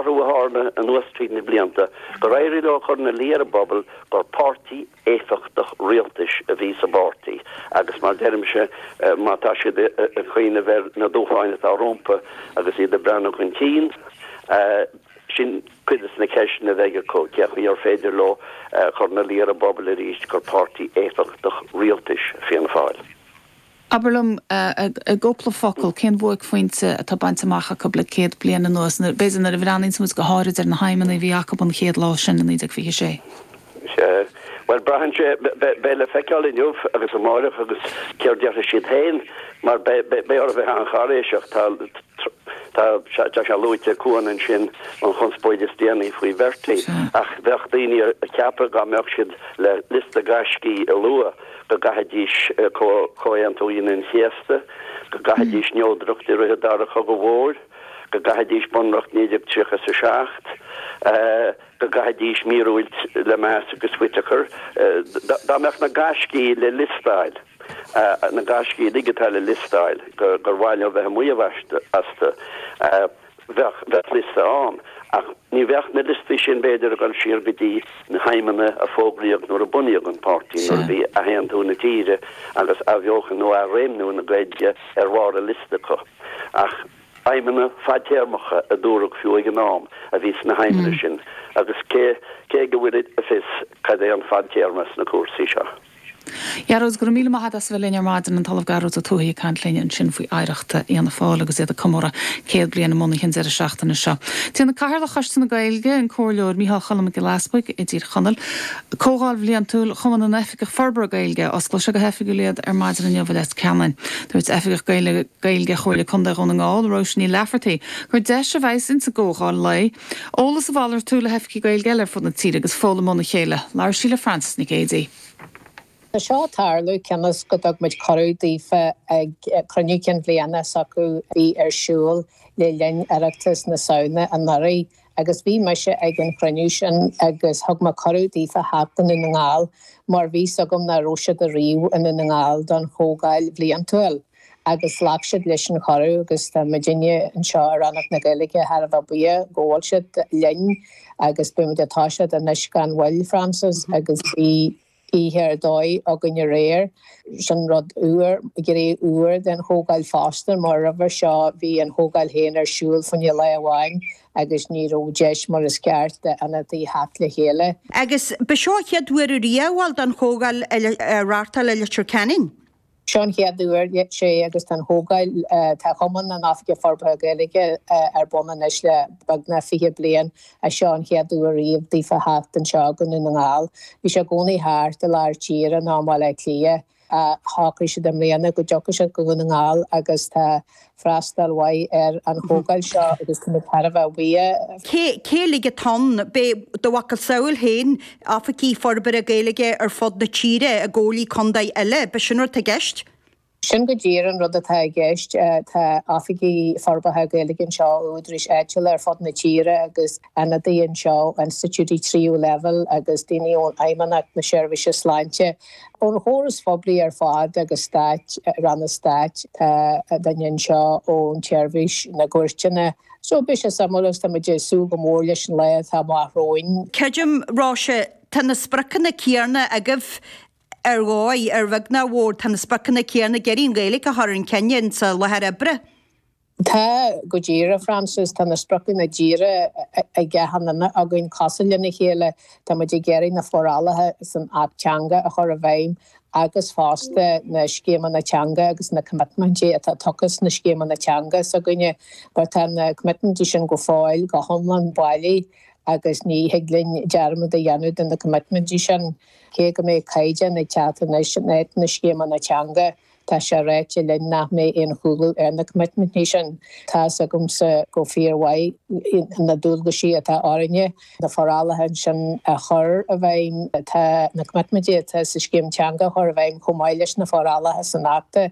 athrú a tharla anuas tríd na blianta, gur éirigh leo a chur ina luí ar an bpobal gur páirtí éifeachtach rialtais a bhí sa bpáirtí agus mar deirimse, má tá siad ag cuimhneamh ar na dúshláin atá rompu agus iad ag breathnú chun cinn, sin cuid de na ceisteanna a bheidh acu, cén chaoi ar féidir leo a chur ina luí ar an bpobal arís gur páirtí éifeachtach rialtais Fianna Fáil. Abair liom, i gcúpla focal, cén bhuaicphointe atá bainte amach acu le 100 bliain anuas, b'fhéidir nuair a bhreathnaíonns muid go háirid ar na haidhmeanna a bhí acu an chéad lá sin i 1926? Sea. Bhuel, braitheann sé, beidh le feiceáil inniu agus amáireach agus céard déarfaidh siad féin, mar beidh orthu bheith an-cháiréiseach. Tá, tá, tá sé luaite ag Cuan ansin, an chonspóid is déanaí faoi Bhertie, ach bheadh daoine ag ceapadh dá mbeadh siad le liosta gaiscí a lua, go gcaithfidís Comhaontú Aoine an Chéasta, go gcaithfidís neodracht i rith an Dara Chogadh Mhóir, go gcaithfidís Bunreacht 1937, go gcaithfidís míorúilt Lemass agus Whitaker. Dá mbeadh na gaiscí le liostáil, na gaiscí uilig atá le liostáil, gur mhaith leo bheith ag maíomh astu, Bheadh, bheadh liosta ann, ach ní bheadh na liostaí sin, b'fhéidir, ag dul siar go dtí na haidhmeanna a fógraíodh nuair a bunaíodh an páirtí, nuair a bhí athaontú na tíre agus athbheochan nó athréimniú na Gaeilge ar bharr an liosta acu. Ach aidhmeanna fadtéarmacha, a dúradh fiú ag an am, a bhí sna haidhmeanna sin, agus cé, cé go bhfuil a fhios cad é an fadtéarma sna cúrsaí seo? Gearóid, go raibh míle maith agat as a bheith linn ar maidin, an tOllamh Gearóid Ó Tuathaigh ag caint linn ansin faoi oidhreacht Fhianna Fáil agus iad ag comóradh 100 bliain a mbunaithe an deireadh seachtaine seo. Déanfaidh Cathaoirleach Choiste na Gaeilge, an Comhairleoir Micheál Choilm Mac Giolla Easbuig i dTír Chonaill, Comhdháil bhliantúil Chumann na nOifigeach Forbartha Gaeilge. Osclóidh sé go hoifigiúil iad ar maidin inniu i Leitir Ceanainn. Dúirt Oifigeach Gaeilge Chomhairle Contae Dhún na nGall, Róise Ní Laifeartaigh, gur deis a bheas insa gcomhdháil lae, Eolas a mhalartú le hoifigigh Gaeilge eile ar fud na tíre agus foghlaim óna chéile. Labhair sí le Frances Nic Géadaigh. Tá seo ag tarlú cionn is go dtug muid cuireadh daofa ag cruinniú cinn bhliana s'acu a bhí ar siúl le linn Oireachtas na Samhna anuraidh agus bhí mise ag an chruinniú sin agus thug mé cuireadh daofa theacht go Dún na nGall mar bhí 's agam nach raibh siad ariamh i nDún na nGall don chomhdháil bhliantúil. agus ghlac siad leis an chuireadh agus tá muidinne anseo i Rannóg na Gaeilge thar a bheith buíoch go bhfuil siad linn agus beidh muid ag toiseacht anois gan mhoill, Frances, agus bhí oíche ar dóigh againn aréir. Sin rud úr, gné úr den chomhdháil fosta mar roimhe seo bhí an chomhdháil féin ar siúl fá choinne lá amháin agus ní raibh deis mar is ceart d'ionadaithe theacht le chéile. Agus ba seo an chéad uair ariamh, bhuel, don chomhdháil a reáchtáil i Leitir Ceanainn. Seo an chéad uair, sea, agus tá an chomhdháil, tá Cumann na nOifigeach Forbartha Gaeilge ar bun anois le beagnach 20 bliain ach seo an chéad uair riamh daofa theacht anseo go Dún na nGall. Bhí sé i gcónaí thart i lár tíre nó i mBaile Átha Cliath. Shocraigh siad i mbliana go dtiocfadh siad go Dún na nGall agus tá freastal mhaith ar an chomhdháil seo agus táimid thar a bheith buíoch. Cé, cé uilig atá ann? Beidh do mhacasamhail féin, Oifigigh Forbartha Gaeilge ar fud na tíre, i gcomhairlí contae eile, b'shin rud atá i gceist? Sin go díreach an rud atá i gceist. Tá Oifigigh Forbartha Gaeilge anseo ó údaráis áitiúla ar fud na tíre agus ionadaithe anseo ó institiúidí tríú leibhéal agus daoine ón Fheidhmeannacht na Seirbhíse Sláinte. Ón chóras phoiblí ar fad agus stáit, ranna stáit, tá duine anseo ón tseirbhís na gcúirteanna. So beidh sé suimiúil agus tá muid ag súil go mór leis an lá atá amach romhainn. Creidim, Róise, tá na spriocanna céanna agaibh ar dhóigh, ar bheag nó ar mhór, tá na spriocanna céanna ag iarraidh an Ghaeilge a chur chun cinn insa láthair oibre. Tá, go díreach, Frances. Tá na spriocanna díreach ag achan duine againn cosúil lena chéile. Tá muid ag iarraidh na forálacha san Acht Teanga a chur i bhfeidhm agus fosta na scéimeanna teanga agus na coimitmintí atá tugtha sna scéimeanna teanga s'againne. Mar tá na coimitmintí sin go fóill go hiomlán bailí agus ní thig linn dearmad a dhéanamh de na coimitmintí sin. Cé go mbeidh caighdeán ag teacht anois in áit na scéimeanna teanga, Tá sé ráite linn nach mbeidh aon chúlú ar na coimitmintí sin. Tá's agamsa go fíormhaith na dualgaisí atá orainne na forálacha ansin a chur i bhfeidhm. Tá na coimitmintí atá sa scéim teanga a chur i bhfeidhm chomh maith leis na forálacha san Acht.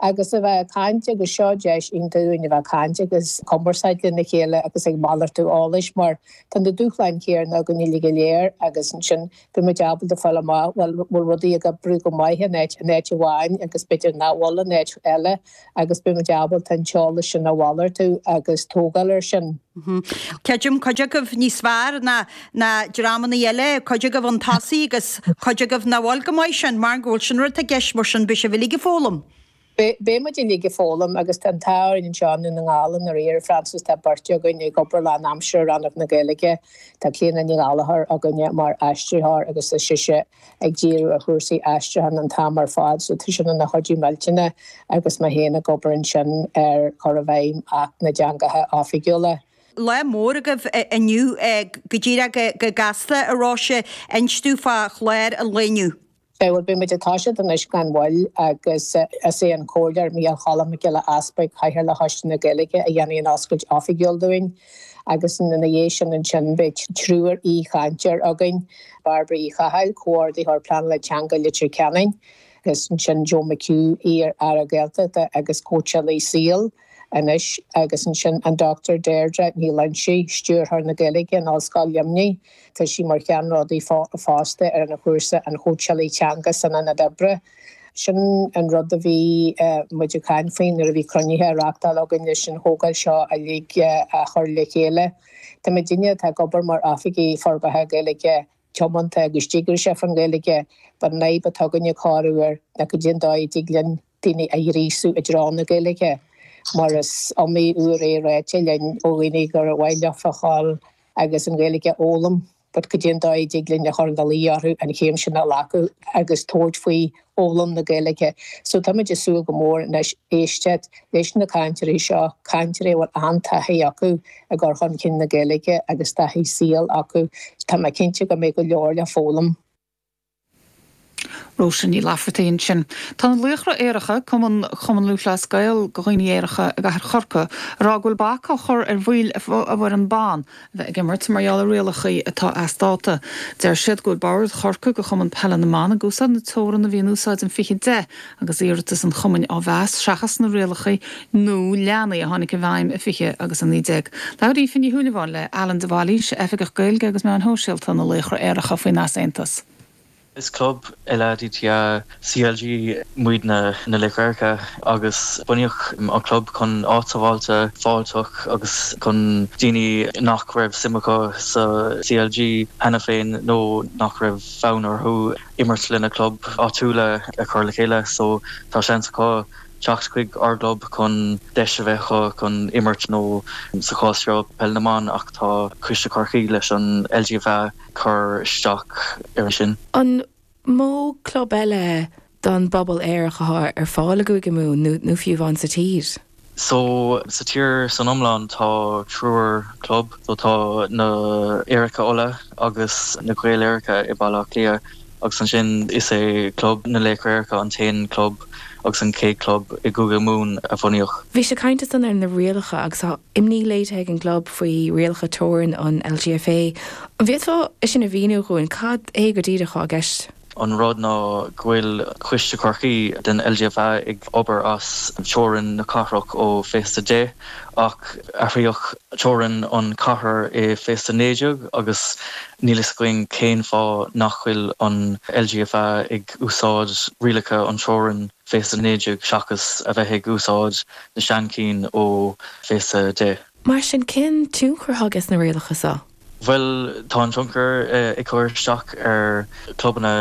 Agus a bheith ag caint agus seo deis iontach dúinn a bheith ag caint agus cumarsáid lena chéile agus ag malartú eolais mar tá na dúshláin chéanna againn uilig go léir agus ansin Beidh muid ábalta fáil amach bhfuil bhfuil rudaí ag oibriú go maith in áit in áit amháin agus b'fhéidir. nach bhfuil in áit eile agus beidh muid ábalta an t-eolas sin a mhalartú agus tógáil air sin. Creidim cuid agaibh níos fearr ná ná dreamanna eile, cuid agaibh chun tosaigh agus cuid agaibh nach bhfuil chomh maith sin, mar go bhfuil sin rud atá i gceist mar sin beidh sibh uilig ag foghlaim. Beidh muid uilig ag foghlaim agus tá an t-ádh orainn anseo i nDún na nGall i ndáiríre, Frances, tá beirt againn ag obair lán-aimseartha i Rannóg na Gaeilge. Tá Clíona Ní Ghallchóir againne mar aistritheoir agus tá sise ag díriú ar chúrsaí aistriúcháin an t-am ar fad so tá sin ina chuidiú millteanach agus mé féin ag obair ansin ar chur i bhfeidhm Acht na dTeangacha Oifigiúla. Lá mór agaibh inniu, go díreach go gasta, a Róise, inis dúinn fá chlár an lae inniu. Bhuel, beidh muid ag toiseacht anois gan mhoill agus is é an Comhairleoir Micheál Choilm Mac Giolla Easpaig, Cathaoirleach Choiste na Gaeilge, a dhéanfaidh an oscailt oifigiúil dúinn agus ina dhiaidh sin ansin beidh triúr aoichainteoir againn, Bairbre Uí Chathail, Comhordaitheoir Pleanála Teanga Leitir Ceanainn, agus ansin Joe McHugh, iar-Aire Gaeltachta agus cóitseálaí saoil. anois agus ansin an Dr Deirdre Ní Loingsigh, Stiúrthóir na Gaeilge in Ollscoil Luimnigh. Tá sí mar cheannródaí fosta ar an chúrsa an Chóitseálaí Teanga san Ionad Oibre. Sin an rud a bhí muid ag caint faoi nuair a bhí cruinnithe á reachtáil againn leis an chomhdháil seo uilig a chur le chéile. Tá muidinne atá ag obair mar Oifigigh Forbartha Gaeilge tiomanta agus díograiseach faoin Ghaeilge, but an fhadhb atá againne corruair ná cad é an dóigh a dtig linn daoine a ghríosú i dtreo na Gaeilge, mar is iomaí uair é ráite linn ó dhaoine gur mhaith leofa a ghabháil agus an Ghaeilge a fhoghlaim, but cad é an dóigh a dtig linn a chur ina luí orthu an chéim sin a ghlacadh agus tabhairt faoi fhoghlaim na Gaeilge. So táimid ag súil go mór anois éisteacht leis na cainteoirí seo, cainteoirí a bhfuil an-taithí acu i gcur chun cinn na Gaeilge agus taithí saoil acu. Tá mé cinnte go mbeidh go leor le foghlaim. Róise Ní Laifeartaigh ansin. Tá na Laochra Aeracha, cumann Chumann Lúthchleas Gael do dhaoine aeracha i gcathair Chorcaí, ag rá go bhfuil bac á chur ar bhaill a bhfoireann ban a bheith ag imirt mar gheall ar rialacha atá as dáta. Deir siad go bhfuil bord Chorcaí do Chumann Peile na mBan ag úsáid na teorann a bhí in úsáid in 2010 agus iarratas an chumainn á mheas seachas na rialacha nua leanaí a tháinig i bhfeidhm i 20 agus 19. Labhair Aoife Ní Shúilleabháin le Alan de Bhailís, Oifigeach Gaeilge agus Meáin Shóisialta na Laochra Aeracha faoin easaontas. Is club LADTA CLG muidne na Laochra Aeracha agus bunaíodh an club chun áit sábháilte, fáilteach agus chun daoine nach raibh suim acu sa CLG cheana féin nó nach raibh fonn orthu imirt lena club áitiúla a chur le chéile so tá seans acu teacht chuig ár gclub chun deis a bheith acu chun imirt nó sa chás seo peil na mban ach tá Coiste Chorcaí leis an LGFA cur isteach air sin. An mó club eile don bpobal aerach atá ar fáil i gCúige Mumhan nó fiú amháin sa tír? So, sa tír san iomlán tá triúr club, so tá na Aeracha Uladh agus na Gaeil Aeracha i Baile Átha Cliath agus ansin is é Club na Laochra Aeracha an t-aon club agus an chéad club i gCúige Mumhan a bunaíodh. Bhí sé ag caint ansan ar na rialacha agus tá imní léirithe ag an gclub faoi rialacha teorann an LGFA. An bhféadfá é sin a mhíniú dhúinn? Cad é go díreach atá i gceist? An rud ná go bhfuil Coiste Chorcaí den LGFA ag obair as teorainn na cathrach ó 2010 ach athraíodh teorainn an chathair i 2019 agus níl fhios againn cén fáth nach bhfuil an LGFA ag úsáid rialacha an teorainn 2019 seachas a bheith ag úsáid na seanchinn ó 2010. Mar sin, cén tionchar atá aige sna rialacha seo? Bhuel, tá an tionchar ag cur isteach ar chlubanna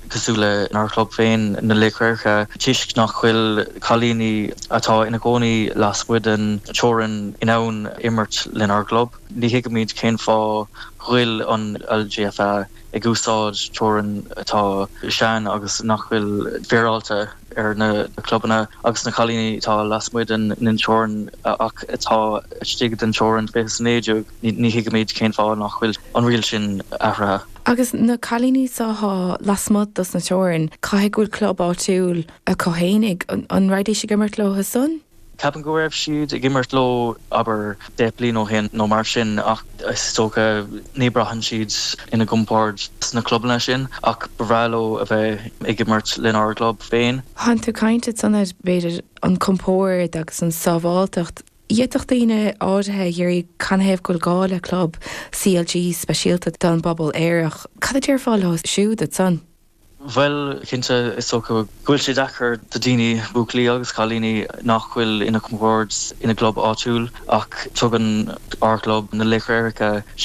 cosúil lenár chlub féin, na Laochra Aeracha, toisc nach bhfuil cailíní atá ina gcónaí lasmuigh den teorainn in ann imirt lenár gclub. Ní thuigimid cén fáth go bhfuil an LGFA ag úsáid teorainn atá sean agus nach bhfuil féaráilte. ar na clubanna agus na cailíní atá lasmuigh den teorainn ach atá istigh den teorainn 2019, ní thuigimid cén fáth nach bhfuil an riail sin athraithe. Agus na cailíní seo atá lasmuigh dos na teorainn, caithfidh go bhfuil club áitiúil acu fhéinig, an raghaidís ag imirt leo san? Ceapaim go raibh siad ag imirt leo, abair, 10 bliain ó shin nó mar sin ach is dócha ní braitheann siad ina gcompord sna clubanna sin ach ba bhreá leo a bheith ag imirt lenár gclub féin. Tánn tú ag caint ansan ar, b'fhéidir, an compord agus an sábháilteacht. D'fhéadfadh daoine áirithe a iarraidh canathaobh go bhfuil gá le club CLG speisialta don bpobal aerach. Cad a déarfá leo siúd ansan? Bhuel, cinnte, is dócha go bhfuil sé deacair do daoine, buachaillí agus cailíní, nach bhfuil ina gcompord ina gclub áitiúil ach tugann ár gclub, na Laochra Éirice.